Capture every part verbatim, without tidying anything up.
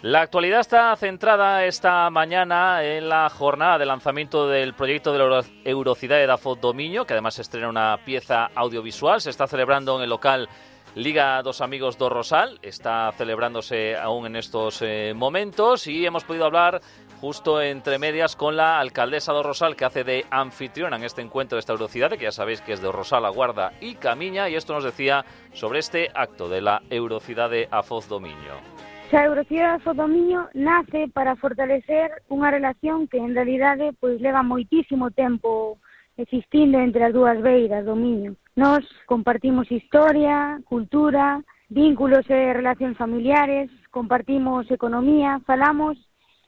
La actualidad está centrada esta mañana en la jornada de lanzamiento del proyecto de la Eurocidade da Foz do Miño, que además estrena una pieza audiovisual. Se está celebrando en el local Liga dos Amigos do Rosal, está celebrándose aún en estos eh, momentos, y hemos podido hablar justo entre medias con la alcaldesa do Rosal, que hace de anfitriona en este encuentro de esta Eurocidade, que ya sabéis que es de Rosal, A Guarda y Camiña, y esto nos decía sobre este acto de la Eurocidade a Foz do Miño. A Eurocidade da Foz do Miño nace para fortalecer unha relación que en realidade pois leva moitísimo tempo existindo entre as dúas beiras do Miño. Nos compartimos historia, cultura, vínculos e relacións familiares, compartimos economía, falamos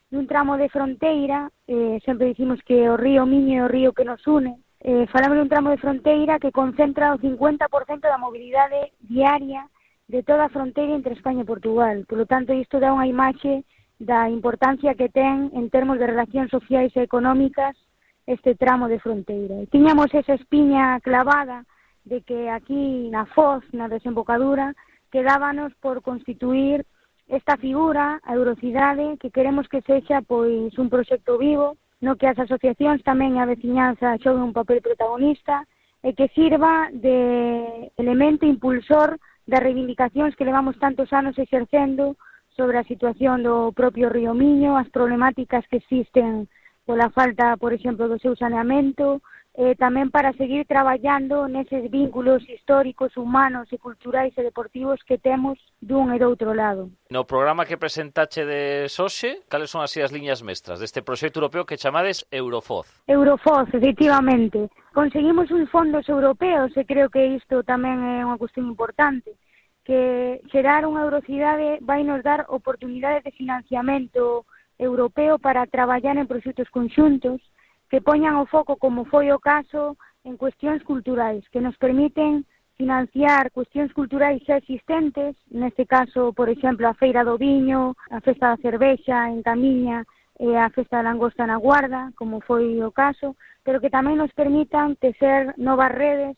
dun tramo de fronteira, eh, sempre dicimos que o río Miño é o río que nos une, eh, falamos dun tramo de fronteira que concentra o cincuenta por cento da mobilidade diaria de toda a fronteira entre España e Portugal. Por lo tanto, isto dá unha imaxe da importancia que ten en termos de relacións sociais e económicas este tramo de fronteira. E tiñamos esa espiña clavada de que aquí na Foz, na desembocadura, quedábanos por constituir esta figura, a Eurocidade, que queremos que sexa pois un proxecto vivo, no que as asociacións tamén a veciñanza xoguen un papel protagonista e que sirva de elemento impulsor das reivindicacións que levamos tantos anos exercendo sobre a situación do propio río Miño, as problemáticas que existen pola falta, por exemplo, do seu saneamento, eh, tamén para seguir traballando neses vínculos históricos, humanos e culturais e deportivos que temos dun e do outro lado. No programa que presentache de Soxe, cales son así as liñas mestras deste proxecto europeo que chamades Eurofoz? Eurofoz, efectivamente. Conseguimos uns fondos europeos e creo que isto tamén é unha cuestión importante, que xerar unha Eurocidade vai nos dar oportunidades de financiamento europeo para traballar en proxectos conxuntos que poñan o foco, como foi o caso, en cuestións culturais, que nos permiten financiar cuestións culturais xa existentes, neste caso, por exemplo, a Feira do Viño, a Festa da Cervexa en Camiña e a Festa da Langosta na Guarda, como foi o caso, pero que tamén nos permitan tecer novas redes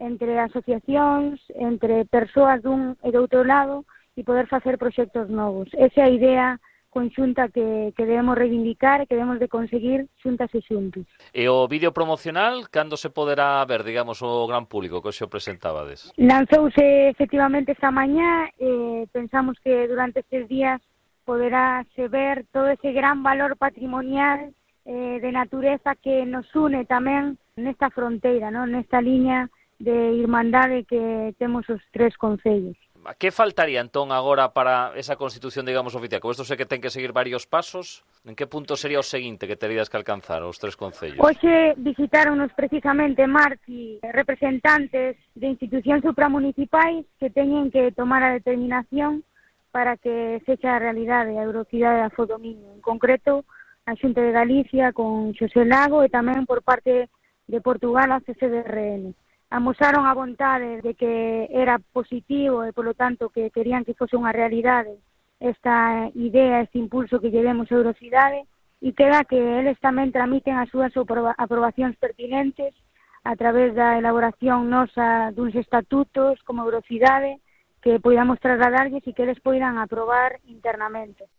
entre asociacións, entre persoas dun e do outro lado e poder facer proxectos novos. Esa é a idea conxunta que, que debemos reivindicar e que debemos de conseguir xuntas e xuntos. E o vídeo promocional, cando se poderá ver, digamos, o gran público que xo presentabades? Lanzouse efectivamente esta mañá, e pensamos que durante estes días poderáse ver todo ese gran valor patrimonial eh, de natureza que nos une tamén nesta fronteira, ¿no? Nesta liña de irmandade que temos os tres concellos. Que faltaría entón agora para esa constitución, digamos, oficial? Como isto sei que ten que seguir varios pasos, en que punto sería o seguinte que terías que alcanzar os tres concellos? Hoxe visitaronnos precisamente Marti representantes de institucións supramunicipais que teñen que tomar a determinación para que sexa a realidade a Eurocidade da Foz do Miño. En concreto, a Xunta de Galicia con Xosé Lago e tamén por parte de Portugal a C C D R N. Amosaron a vontade de que era positivo e, polo tanto, que querían que fose unha realidade esta idea, este impulso que llevemos a Eurocidade, e queda que eles tamén tramiten as súas aprobacións pertinentes a través da elaboración nosa duns estatutos como Eurocidade que podamos trasladarlles e que eles poidan aprobar internamente.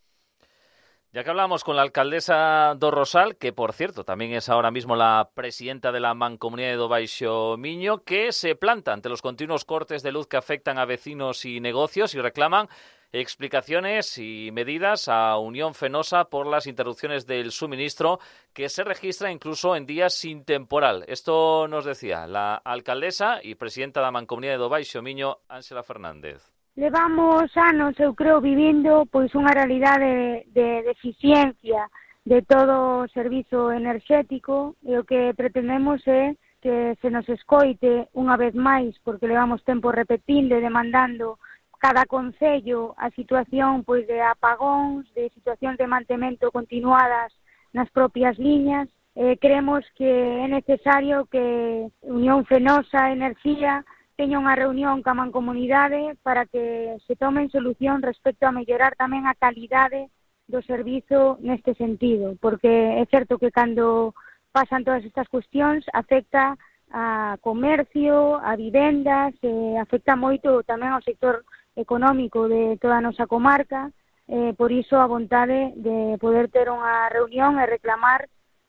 Ya que hablamos con la alcaldesa do Rosal, que por cierto también es ahora mismo la presidenta de la Mancomunidade do Baixo Miño, que se planta ante los continuos cortes de luz que afectan a vecinos y negocios y reclaman explicaciones y medidas a Unión Fenosa por las interrupciones del suministro que se registra incluso en días sin temporal. Esto nos decía la alcaldesa y presidenta da Mancomunidade do Baixo Miño, Ángela Fernández. Levamos anos, eu creo, vivindo pois unha realidade de, de deficiencia de todo o servizo enerxético e o que pretendemos é que se nos escoite unha vez máis, porque levamos tempo repetindo e demandando cada concello a situación pois de apagóns, de situacións de mantemento continuadas nas propias liñas. Eh, creemos que é necesario que Unión Fenosa Enerxía teña unha reunión ca Mancomunidade para que se tomen solución respecto a mellorar tamén a calidade do servizo neste sentido, porque é certo que cando pasan todas estas cuestións afecta a comercio, a vivendas, e afecta moito tamén ao sector económico de toda a nosa comarca, eh, por iso a vontade de poder ter unha reunión e reclamar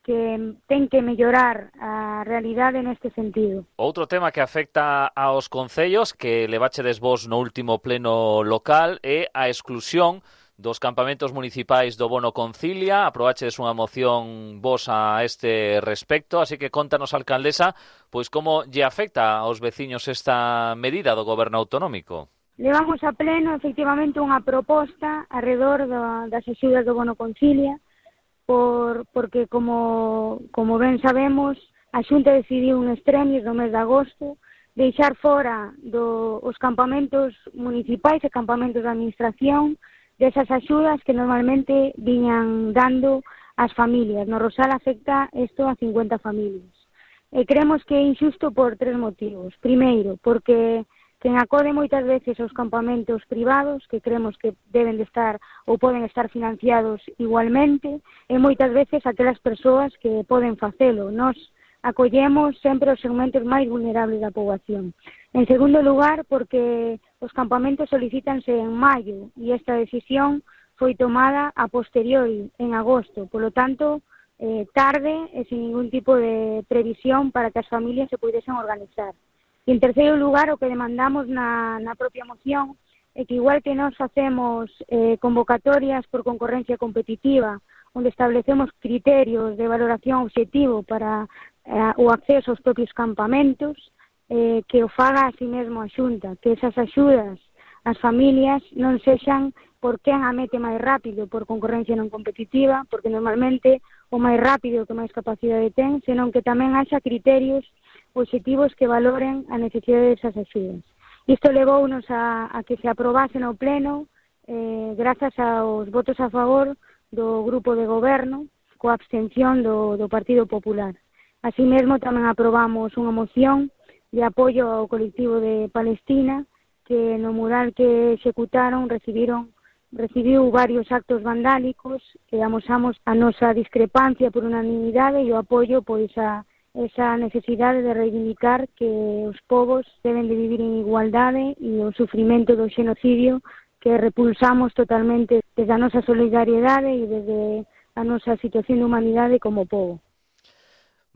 que ten que mellorar a realidade neste sentido. Outro tema que afecta aos concellos que levachedes vos no último pleno local é a exclusión dos campamentos municipais do Bono Concilia. Aprobachedes unha moción vos a este respecto, así que contanos, alcaldesa, pois como lle afecta aos veciños esta medida do goberno autonómico. Levamos a pleno, efectivamente, unha proposta alrededor do, das axudas do Bono Concilia, por, porque, como, como ben sabemos, a Xunta decidiu un extremis no mes de agosto deixar fora do, os campamentos municipais e campamentos de administración desas axudas que normalmente viñan dando as familias. No Rosal afecta isto a cincuenta familias. E creemos que é injusto por tres motivos. Primeiro, porque quen acode moitas veces aos campamentos privados, que creemos que deben de estar ou poden estar financiados igualmente, e moitas veces aquelas persoas que poden facelo. Nos acollemos sempre os segmentos máis vulnerables da poboación. En segundo lugar, porque os campamentos solicítanse en maio e esta decisión foi tomada a posteriori, en agosto. Por lo tanto, eh, tarde e sin ningún tipo de previsión para que as familias se pudesen organizar. E, en terceiro lugar, o que demandamos na, na propia moción é que, igual que nós facemos eh, convocatorias por concorrencia competitiva, onde establecemos criterios de valoración objetivo para eh, o acceso aos propios campamentos, eh, que o faga a si mesmo a Xunta, que esas axudas ás familias non sexan por quen a mete máis rápido por concorrencia non competitiva, porque normalmente o máis rápido que máis capacidade ten, senón que tamén haxa criterios objetivos que valoren a necesidade desas axudas. Isto levounos a, a que se aprobase no pleno eh, grazas aos votos a favor do grupo de goberno, coa abstención do, do Partido Popular. Así mesmo tamén aprobamos unha moción de apoio ao colectivo de Palestina, que no mural que executaron recibiron recibiu varios actos vandálicos e amosamos a nosa discrepancia por unanimidade e o apoio pois a esa necesidade de reivindicar que os povos deben de vivir en igualdade e o sufrimento do xenocidio que repulsamos totalmente desde a nosa solidariedade e desde a nosa situación de humanidade como povo.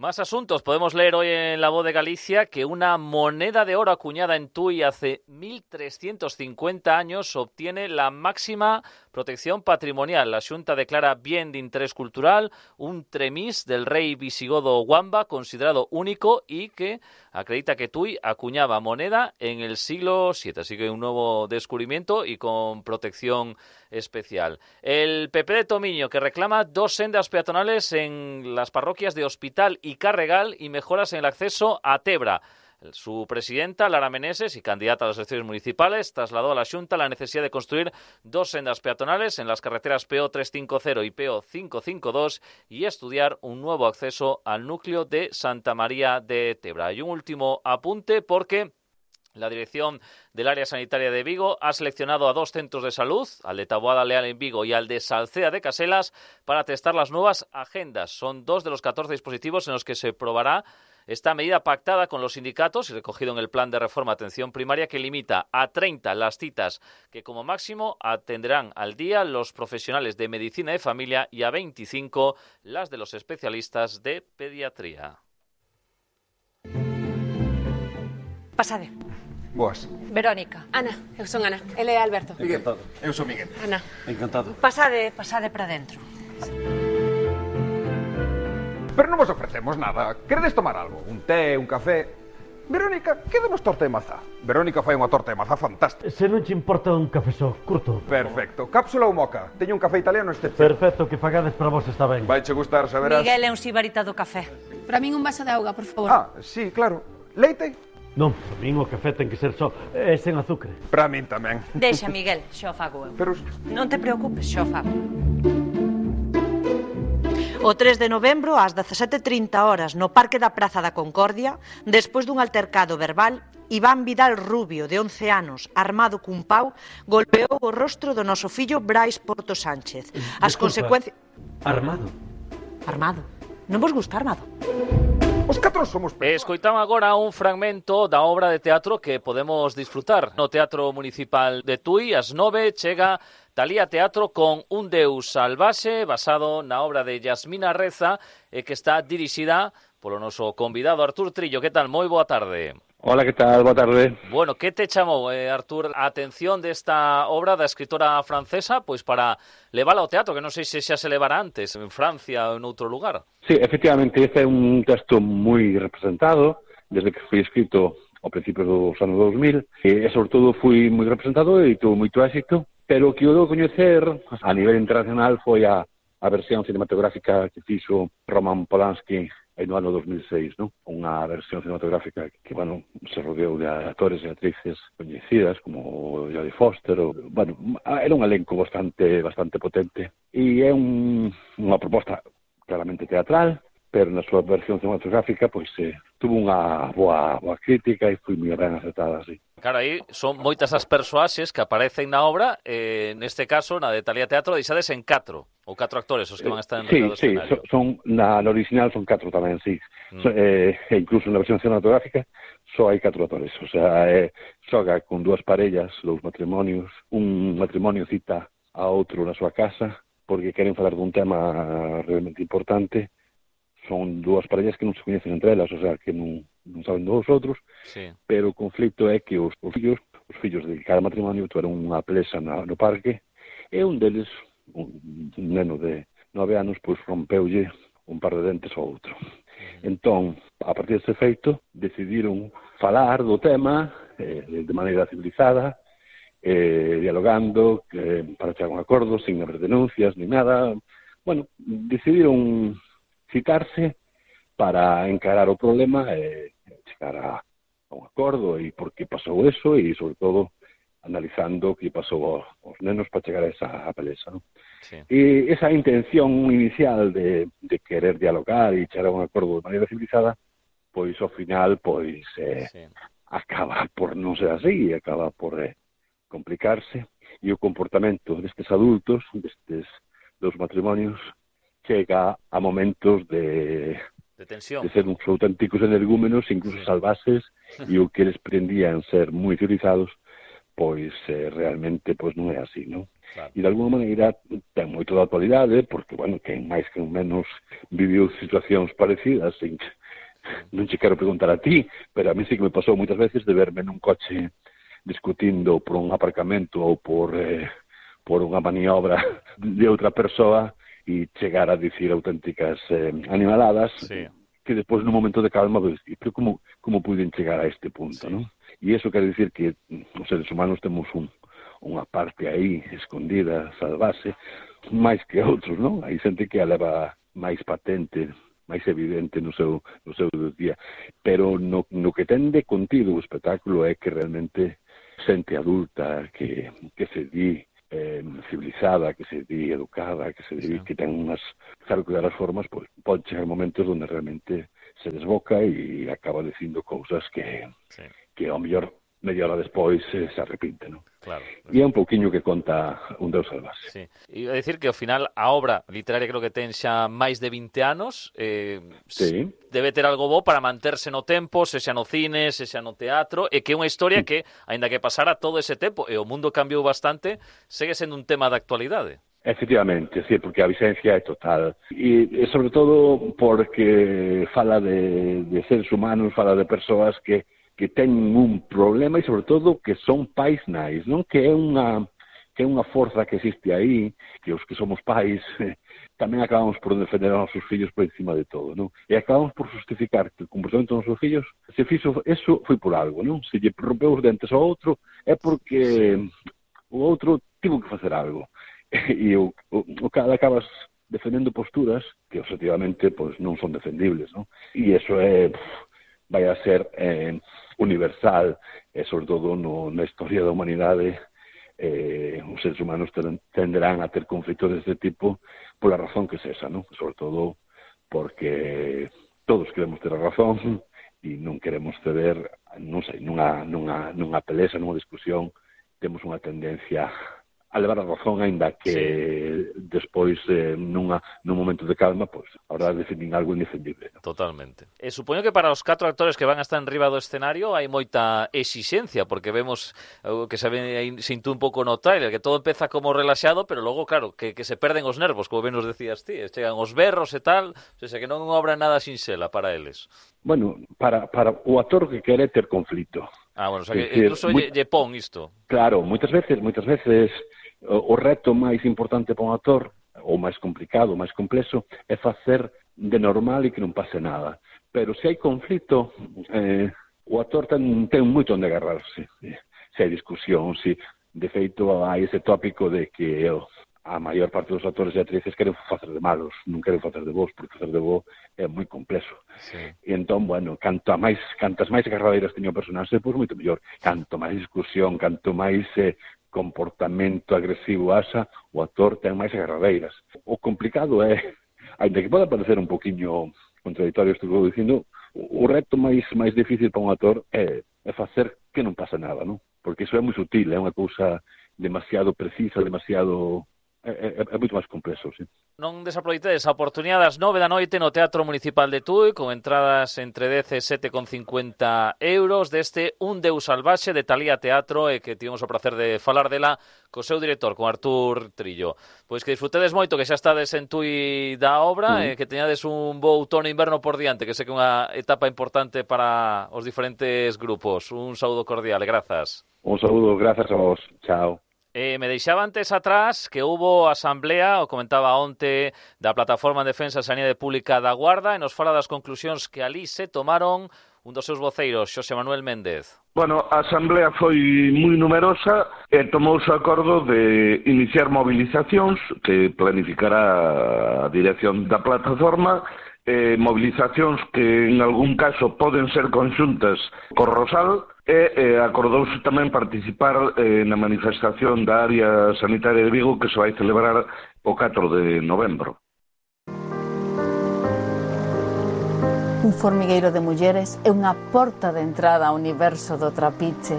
Más asuntos. Podemos leer hoy en La Voz de Galicia que una moneda de oro acuñada en Tui hace mil trescientos cincuenta años obtiene la máxima protección patrimonial. La Xunta declara bien de interés cultural un tremis del rey visigodo Wamba, considerado único y que acredita que Tui acuñaba moneda en el siglo siete. Así que un nuevo descubrimiento y con protección especial. El P P de Tomiño, que reclama dos sendas peatonales en las parroquias de Hospital y Carregal y mejoras en el acceso a Tebra. Su presidenta, Lara Meneses, y candidata a las elecciones municipales, trasladó a la Xunta la necesidad de construir dos sendas peatonales en las carreteras P O trescientos cincuenta y P O quinientos cincuenta y dos y estudiar un nuevo acceso al núcleo de Santa María de Tebra. Y un último apunte, porque la dirección del área sanitaria de Vigo ha seleccionado a dos centros de salud, al de Taboada Leal en Vigo y al de Salcea de Caselas, para testar las nuevas agendas. Son dos de los catorce dispositivos en los que se probará esta medida pactada con los sindicatos y recogido en el Plan de Reforma Atención Primaria, que limita a treinta las citas que como máximo atenderán al día los profesionales de medicina de familia y a veinticinco las de los especialistas de pediatría. Pasade. Boas. Verónica. Ana, eu son Ana. Ele é Alberto. Miguel. Eu sou Miguel. Ana. Encantado. Pasade, pasade para dentro. Pero non vos ofrecemos nada. Queredes tomar algo? Un té, un café? Verónica, quedemos torta de mazá. Verónica fai unha torta de mazá fantástica. Se non te importa un café só, curto. Perfecto. Cápsula ou moca? Teño un café italiano este. Perfecto, que fagades para vos está ben. Vai che gustar, saberás. Miguel é un sibarita do café. Para min un vaso de auga, por favor. Ah, sí, claro. Leite? Non, para min o café ten que ser só e sen azúcar. Para min tamén. Deixa, Miguel, xa o fago eu. Pero... Non te preocupes, xa o fago. O tres de novembro, ás dezasete e trinta horas, no Parque da Praza da Concordia, despois dun altercado verbal, Iván Vidal Rubio, de once anos, armado cun pau, golpeou o rostro do noso fillo Brais Porto Sánchez. As consecuencias... Armado? Armado. Non vos gusta armado? Os catro somos... Escoitamos agora un fragmento da obra de teatro que podemos disfrutar no Teatro Municipal de Tui. Ás nove chega Talía Teatro con Un Deus Salvaxe, basado na obra de Yasmina Reza, e que está dirixida polo noso convidado Artur Trillo. Que tal? Moi boa tarde. Hola, que tal? Boa tarde. Bueno, que te chamou, eh, Artur, a atención desta obra da escritora francesa, pois para levala ao teatro, que non sei se xa se levara antes, en Francia ou en outro lugar? Sí, efectivamente, este é un texto moi representado, desde que foi escrito ao principio dos anos dos mil, e sobre todo foi moi representado e tuvo moito éxito, pero o que eu dou a coñecer a nivel internacional foi a, a versión cinematográfica que fixo Roman Polanski no ano dos mil seis, ¿no? Unha versión cinematográfica que, bueno, se rodeou de actores e actrices coñecidas como Jodie Foster, ou, bueno, era un elenco bastante bastante potente, e é un, unha proposta claramente teatral, pero na súa versión cinematográfica, pois, eh, tuvo unha boa, boa crítica e foi moi ben acertada, así. Claro, aí son moitas as persoaxes que aparecen na obra, eh, neste caso, na de Talía Teatro, deixades en catro, ou catro actores, os que van a estar en sí, o sí, escenario. son, na, na original son catro tamén, sí. Mm. So, eh, e incluso na versión cinematográfica só hai catro actores, o sea, eh, xoga con dúas parellas, dous matrimonios, un matrimonio cita a outro na súa casa, porque queren falar dun tema realmente importante. Son dúas parellas que non se coñecen entre elas, o sea, que non, non saben dos outros, Sí. pero o conflito é que os, os fillos, os fillos de cada matrimonio tuveron unha pelesa na, no parque, e un deles, un, un neno de nove anos, pois rompeulle un par de dentes ao outro. Entón, a partir deste feito, decidiron falar do tema eh, de maneira civilizada, eh, dialogando, eh, para chegar a un acordo, sin haber denuncias, ni nada. Bueno, decidiron citarse para encarar o problema e chegar a, a un acordo e por que pasou eso e, sobre todo, analizando o que pasou aos nenos para chegar a esa a pelesa, ¿no? Sí. E esa intención inicial de, de querer dialogar e chegar a un acordo de maneira civilizada, pois, ao final, pois, eh, Sí. acaba por non ser así, acaba por eh, complicarse, e o comportamento destes adultos, destes dos matrimonios, chega a momentos de, De tensión. de ser uns auténticos energúmenos, incluso Sí. salvaxes, e o que eles prendían ser moi civilizados, pois eh, realmente pois non é así, non? Claro. E de alguma maneira ten moito da actualidade, porque, bueno, quen máis que menos viviu situacións parecidas, e non che quero preguntar a ti, pero a mí sí que me pasou moitas veces de verme nun coche discutindo por un aparcamento ou por, eh, por unha maniobra de outra persoa, e chegar a dicir auténticas eh, animaladas, Sí. que despois nun momento de calma pues, pero como, como puiden chegar a este punto, Sí. ¿no? E iso quere dicir que os seres humanos temos un, unha parte aí escondida, salvase, máis que outros, non? Hai xente que a leva máis patente, máis evidente no seu, no seu día, pero no, no que ten de contido o espectáculo é que realmente xente adulta que, que se di eh, civilizada, que se di educada, que se di Sí. que ten unhas, claro que das formas, pois, pode chegar momentos onde realmente se desboca e acaba dicindo cousas que, Sí. que ao mellor media hora despois eh, se arrepinte, non? Claro. E é un pouquiño que conta Un Deus Salvaxe. Sí. Iba a decir que ao final a obra literaria creo que ten xa máis de vinte anos, eh, Sí. debe ter algo bo para manterse no tempo, se xa no cine, se xa no teatro, e que é unha historia que, aínda que pasara todo ese tempo e o mundo cambiou bastante, segue sendo un tema de actualidade. Efectivamente, sí, porque a vigencia é total. E, e sobre todo porque fala de, de seres humanos, fala de persoas que, que teñen un problema e sobre todo que son pais nais, non? Que é unha que é unha forza que existe aí, que os que somos pais eh, tamén acabamos por defender aos nosos fillos por encima de todo, non? E acabamos por justificar que o comportamento dos nosos fillos se fixo, eso foi por algo, non? Se lle rompeu os dentes ao outro é porque o outro tivo que facer algo. E o, o, o cada acabas defendendo posturas que objetivamente pois, non son defendibles, non? E iso é, vai a ser eh, universal, e sobre todo no, na historia da humanidade, eh, os seres humanos tenderán a ter conflitos deste tipo pola razón que sexa, non? Sobre todo porque todos queremos ter a razón e non queremos ceder, non sei, nunha, nunha, nunha pelesa, nunha discusión, temos unha tendencia a levar a razón, aínda que sí. despois, eh, nunha, nun momento de calma, pois, a verdade definen algo indefendible. ¿No? Totalmente. E supoño que para os catro actores que van a estar en riba do escenario hai moita exixencia, porque vemos uh, que se, ve, se intú un pouco no trailer, que todo empeza como relaxado, pero logo, claro, que, que se perden os nervos, como ben nos decías ti, chegan os berros e tal, o sea, que non obra nada sinxela para eles. Bueno, para, para o actor que quere ter conflito. Ah, bueno, o sea, que decir, incluso moi... lle, lle pon isto. Claro, moitas veces, moitas veces o reto máis importante para un actor, ou máis complicado, máis complexo, é facer de normal e que non pase nada. Pero se hai conflito, eh, o actor ten, ten moito onde agarrarse. Se hai discusión, se de feito hai ese tópico de que eu, a maior parte dos actores e actrices queren facer de malos, non queren facer de vos, porque facer de vos é moi complexo. Sí. E entón, bueno, canto máis, cantas máis agarradeiras teño o personaxe, pois moito mellor. Canto máis discusión, canto máis eh, comportamento agresivo asa, o actor ten máis agarradeiras. O complicado é, ainda que poda parecer un poquinho contradictorio isto que vou dicindo, o reto máis máis difícil para un actor é, é facer que non pasa nada, non? Porque iso é moi sutil, é unha cousa demasiado precisa, demasiado... É, é, é moito máis complexo, sí. Non desaproveitedes a oportunidade das nove da noite no Teatro Municipal de Tui, con entradas entre dez e sete con cincuenta euros deste Un Deus Salvaxe de Talía Teatro, e que tivemos o placer de falar dela co seu director, con Artur Trillo. Pois que disfrutedes moito, que xa estades en Tui da obra, mm. e que teñades un bo outono e inverno por diante, que sei que é unha etapa importante para os diferentes grupos. Un saúdo cordial e grazas. Un saúdo, grazas a vos. Chao. Eh, me deixaba antes atrás que hubo asamblea, o comentaba onte, da Plataforma en Defensa da Sanidade Pública da Guarda, e nos fala das conclusións que ali se tomaron un dos seus voceiros, Xosé Manuel Méndez. Bueno, a asamblea foi moi numerosa e tomouse o acordo de iniciar movilizacións que planificará a dirección da plataforma, eh, movilizacións que en algún caso poden ser conxuntas co Rosal, e eh, acordouse tamén participar eh, na manifestación da área sanitaria de Vigo que se vai celebrar o catro de novembro. Un formigueiro de mulleres é unha porta de entrada ao universo do trapiche,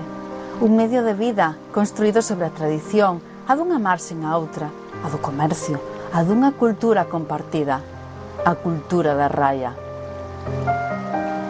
un medio de vida construído sobre a tradición, a dunha marxen a outra, a do comercio, a dunha cultura compartida, a cultura da raia.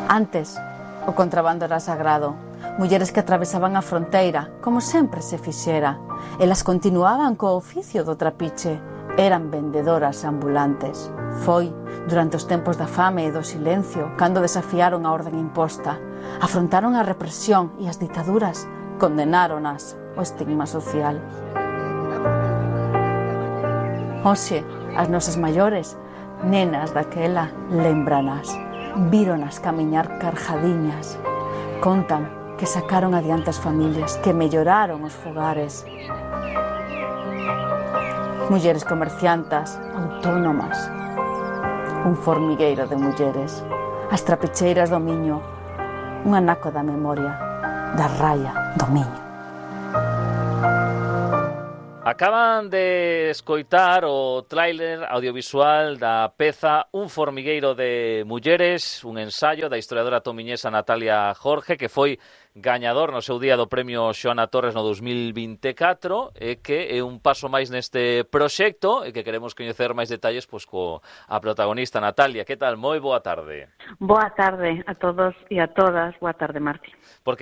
Antes, o contrabando era sagrado. Mulleres que atravesaban a fronteira, como sempre se fixera. Elas continuaban co oficio do trapiche. Eran vendedoras ambulantes. Foi durante os tempos da fame e do silencio, cando desafiaron a orden imposta. Afrontaron a represión e as ditaduras, condenáronas ao estigma social. Hoxe, as nosas maiores, nenas daquela, lembranas. Víronas camiñar carjadiñas. Contan que sacaron adiante as familias, que melloraron os fogares. Mulleres comerciantas, autónomas. Un formigueiro de mulleres. As trapicheiras do Miño. Un anaco da memoria, da raia do Miño. Acaban de escoitar o tráiler audiovisual da peza Un formigueiro de mulleres, un ensaio da historiadora tomiñesa Natalia Jorge, que foi gañador no seu día do premio Xoana Torres no dos mil vinte e catro, e que é un paso máis neste proxecto, e que queremos coñecer máis detalles pois co a protagonista Natalia. Que tal? Moi boa tarde. Boa tarde a todos e a todas. Boa tarde, Marti. Porque